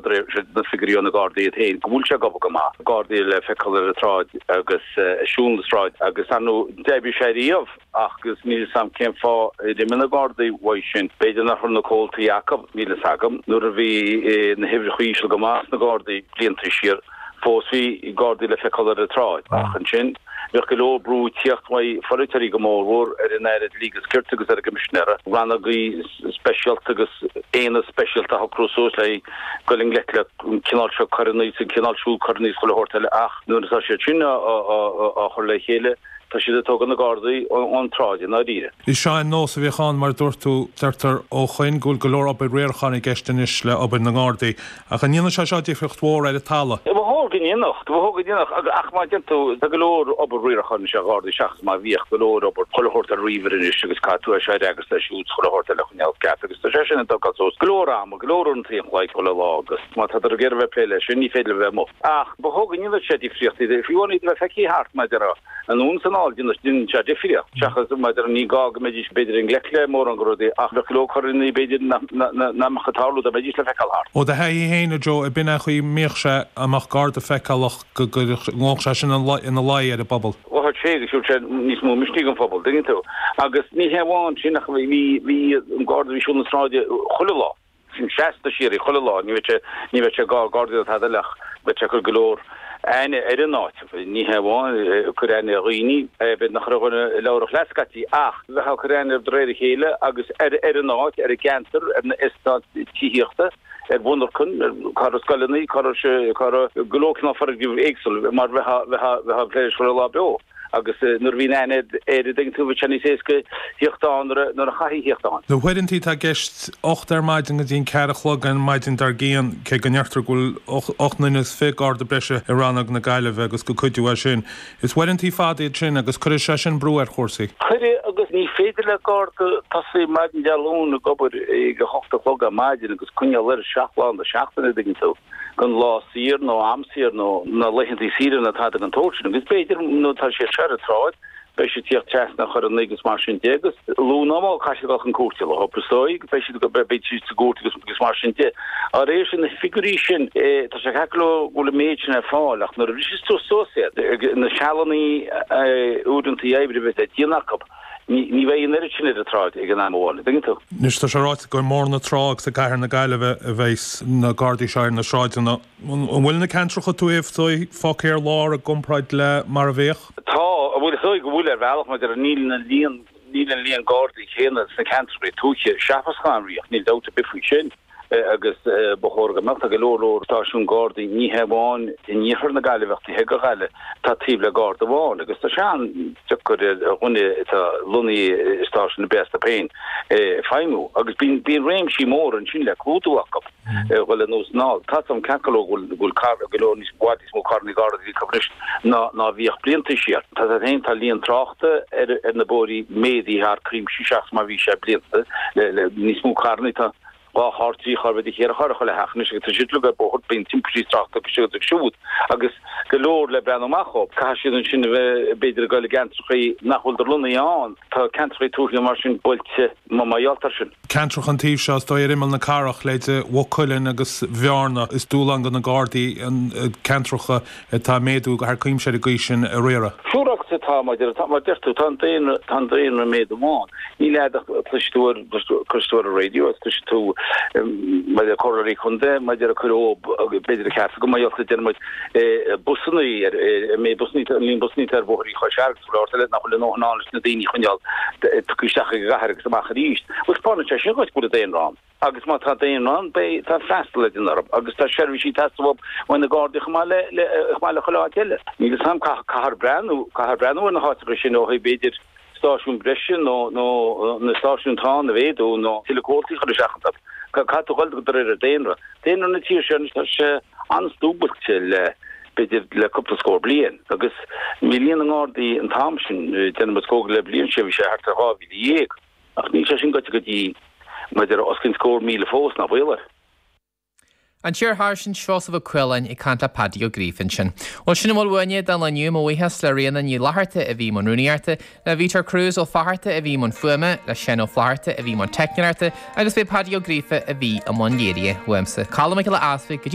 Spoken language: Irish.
de réir na figiúirí ó na Gardaí iad féin go bhfuil sé ag obair go maith, Gardaí le feiceáil ar an tsráid agus ag siúl na sráide agus ar ndóigh d'oibrigh sé riamh ach agus níl 'fhios a'm cén fáth ar imigh na Gardaí uaidh sin, b'fhéidir nach raibh na comhaltaí acu, níl 'fhios agam, nuair a bhí na huimhreacha íseal go maith sna Gardaí blianta siar. Fós bhí Gardaí le feiceáil ar an tsráid, ach ansin bheadh go leor brú ag tíocht uaidh pholaiteoirí go mórmhór ar an Aire Dlí agus Cirt agus ar an gCoimisinéir, rannógaí speisialta agus aonad speisialta a shocrú suas le dul i ngleic le an cineál seo coireanna is an cineál siúd coireanna is chuile shórt eile ach nuair atá siad sin á chur le chéile tá siad ag tógáil na Gardaí ón tsráid i ndáiríre. Is é an nós a bhíodh ann, mar a dúirt tú, deirtear ó shoin go bhfuil go leor obair riaracháin i gceist anois le obair na nGardaí. Ach an ndéanann sé seo difríocht mhór ar an talamh? Ba chóir go ndéanfadh. Ba chóir go ndéanfadh. Ach má deireann tú, tá go leor obair riaracháin anois ar Ghardaí seachas mar a bhíodh, go leor obair chuile shórt ar ríomhaire anois agus caithfidh tú é seo a fhreagairt é siúd 's chuile shórt eile a choinneáil ceart agus tá sé sin ag tógáil suas go leor ama, go leor uaireanta an chloig chuile lá agus má tá tú ag iarraidh a bheith ag plé leis sin ní féidir leat a bheith amuigh. Ach ba chóir go ndéanfadh sé difríocht, fiú amháin iad a bheith feicthe thart mar a déarfá. Anonn is anall, déanann sé difríocht, seachas mar a déarfá ní gá go mbeidís b'fhéidir i ngleic le mórán de rudaí ach bheadh go leor coireanna b'fhéidir nach mbeadh ag tarlú dá mbeidís le feiceáil thart. Ó do thaithí féin, a Joe, ab in é an chaoi a mbíodh sé, dá mbeadh garda feiceálach go ngabhadh sé sin ina luí ar an bpobal? Ghabhadh sé agus thabharfadh sé níos mó misnigh don phobal, dtuigeann tú. Agus ní hé amháin sin ach bhí an garda a bhí ag siúl na sráide chuile lá. Sin seasta síoraí chuile lá, ní bheadh sé, ní bheadh sé ag gardaí ná tada eile ach bheadh sé ag cur go leor aithne ar an áit. Ní hé amháin ag cur aithne ar dhaoine, b'fhéidir nach raibh dhuine labhrach leat scaití ach bheifeá ag cur aithne de réir a chéile agus ar ar an áit, ar an gceantar, ar na eastáit tithíochta, ar mhonarchain, ar cá raibh scoileanna, cá raibh sé, cá raibh go leor cineál foirgnimh éagsúil mar bheifeá, bheifeá, bheifeá ag plé leis chuile lá beo. Agus nuair a bhíonn aithne air, an dtuigeann tú, bheadh sé níos éasca theacht ann nuair a chaithfí theacht ann. Na huaireantaí atá i gceist, 8 ar maidin go dtí an 4 a chlog ar maidin dár gcionn, cé go ndeirtear go bhfuil 28 nduine garda breise i rannóg na Gaillimhe agus gur cuidiú é sin. Is uaireantaí fada iad sin agus cuirfidh sé sin brú ar chúrsaí. Cuirfidh agus ní féidir le garda tosaí maidin Dé Luain ag obair ag a hocht a chlog ar maidin agus coinneáil air 7 lá na seachtaine, an dtuigeann tú. gan lá saor nó am saor nó na laethanta saoire ná tada den tsórt sin agus b'fhéidir nuair atá siad seo ar an tsráid beidh siad tíocht trasna ar choireanna agus mar sin de agus luath nó mall caithfidh siad dul chun cúirte le hobair is dóigh agus beidh siad beidh siad sa gcúirt agus agus mar sin de. Dá réir sin na figiúirí sin tá sé ceart go leor go bhfuil an méid sin ar fáil ach nuair a bhriseas tú suas iad na sealanna uaireanta oibre a bheith le déanamh acu Ní bheidh an oiread sin ar an tsráid ag an am amháin, an dtuigeann tú. Anois, tá sé ráite gur i mBóthar na Trá agus i gCathair na Gaillimhe a bheas na Gardaí seo ar na sráideanna. An bhfuil na ceantracha tuaithe fágtha ar lár i gcomparáid le mar a bhíodh? Tá, bhuel is dóigh go bhfuil ar bhealach mar níl na líon, níl an líon Gardaí céanna sna ceantracha tuaithe seachas mar a bhíodh, níl dabht ar bith faoi sin. agus ba chóir go mbeadh. Tá go leor leor stáisiún Gardaí, ní hé amháin in iarthar na Gaillimhe ach taobh thiar de Ghaillimh, atá taobh le Garda amháin agus tá sé an-deacair ar dhuine atá lonnaithe i stáisiún ar bith astu féin feidhmiú agus bíonn bíonn réimsí móra ansin le clúdú acu a dhul anuas anall. Tá a fhios agam ceart go leor go bhfuil go bhfuil carr go leor níos i bhfad níos mó carrannaí Gardaí acu anois ná ná a bhíodh blianta siar. Tá a fhios agat féin tá líon tráchta ar ar na bóithrí méadaithe thar cuimse seachas mar a bhí sé blianta le le níos mó carrannaí tá 2 charr, 3 charr, b'fhéidir 4 charr i chuile theach anois agus tá siad uilig ar bóthar, bíonn timpistí tráchta agus siúd agus siúd agus go leor le breathnú amach dhóibh. Caithfidh siad ansin a bheith b'fhéidir ag dul i gceantrachaí nach bhfuil lonnaithe ann. Tá ceantrachaí tuaithe mar sin buailte mar gheall air sin. Ceantracha an taobh seo is dóigh ar imeall na cathrach, leithéide Mhaigh Cuilinn agus Bhearna, is dúshlán do na Gardaí an ceantracha atá ag méadú thar cuimse ar an gcaoi sin a riaradh. Siúráilte atá, mar a deir tú, tá an daonra, tá an daonra ag méadú amháin. Níl agat ach cloisfidh tú ar, cloisfidh tú ar an raidió agus cloisfidh tú maidir le comhairleoirí contae, maidir le cur ó, b'fhéidir a cheart go mbeadh déanann muid busanna ar, an méid busanna, an líon busanna atá ar bhóithrí Chois Fharraige agus go leor eile nach bhfuil a ndóthain ann leis na daoine a choinneáil tugtha isteach ag an gcathair agus amach arís. Bhuel, taispeánann sé sin dhuit go bhfuil an daonra ann. Agus má tá daonra ann, beidh, tá freastal le déanamh orthu agus tá seirbhísí ag teastáil uathu ó na Gardaí chomh maith le, le, chomh maith le chuile áit eile. Níl fhios a'm, caithfear breathnú, caithfear breathnú ar na háiteacha sin ó thaobh b'fhéidir stáisiún breise nó, nó na stáisiúin atá ann a mhéadú nó tuilleadh comhaltaí a chur isteach iontu. Caithfidh tú dhul de réir an daonra. Daonra na tíre seo anois tá sé an-dúbailte le, b'fhéidir le cúpla scór bliain agus bhí líon na nGardaí an t-am sin, déanaim is cóngarach le bliain siar, bhí sé thart ar 12,000. Ach níl sé sin gaibhte go dtí maidir os cionn scór 1,000 fós, ná baol air. An tIar-Sháirsint Seosamh Ó Cualáin ag caint le Paddy Ó Gríofa ansin. Bhuel, sin a bhfuil uainne don lá inniu. Mo bhuíochas le Ríona Ní Fhlatharta a bhí i mbun rúnaíochta, le Vítor Cruz Ó Fatharta a bhí i mbun fuaime, le Seán Ó Flatharta a bhí i mbun teicneoireachta agus b'é Paddy Ó Gríofa a bhí i mbun léirithe. Uaimse, Colm Mac Giolla Easpaig, go dtí.